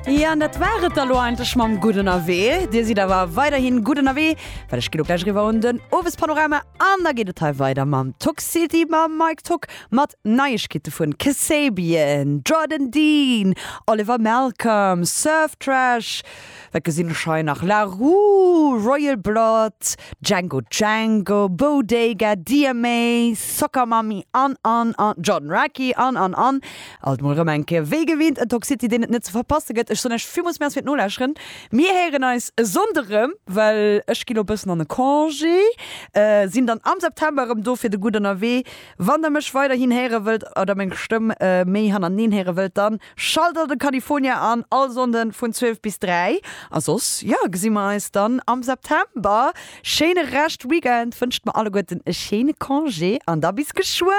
Jo, an dat war et da lo eigentlech mam Gutt Ënnerwee. Dir sidd awer weiderhin gutt ënnerwee, well ech gi lo gläich eriwwer un den Owespanorama an da geet et hei weider mam Tuck City mam Mike Tuck mat Neiegkeete vun Kasabian, Jordan Dean, Oliver Malcolm, Surf Trash, Wat gesinn ech hei nach? La Roux, Royal Blood, Django Django, Bodega, DMA, Soccer Mommy an an an Jordan Rakei an an an. Alt mol erëm eng Kéier wéi gewinnt en Talk City deen et net ze verpasse gëtt. Ech soen iech villmools Merci fir d'Nolauschteren. Mir héieren eis e Sonnde rëm, well ech gi lo bëssen an e Congé, sinn dann am September erëm do fir de Gutt Ënnerwee. Wann der mech weiderhin héiere wëllt oder meng Stëmm méi hannerteneen héiere wëllt, dann Schalt alt de California an, all Sonnden vun 12 bis 3. A soss, jo, gesi mer eis dann am September. Schéine Rescht Weekend, wënscht mer alleguerten e schéine Congé an da bis geschwënn!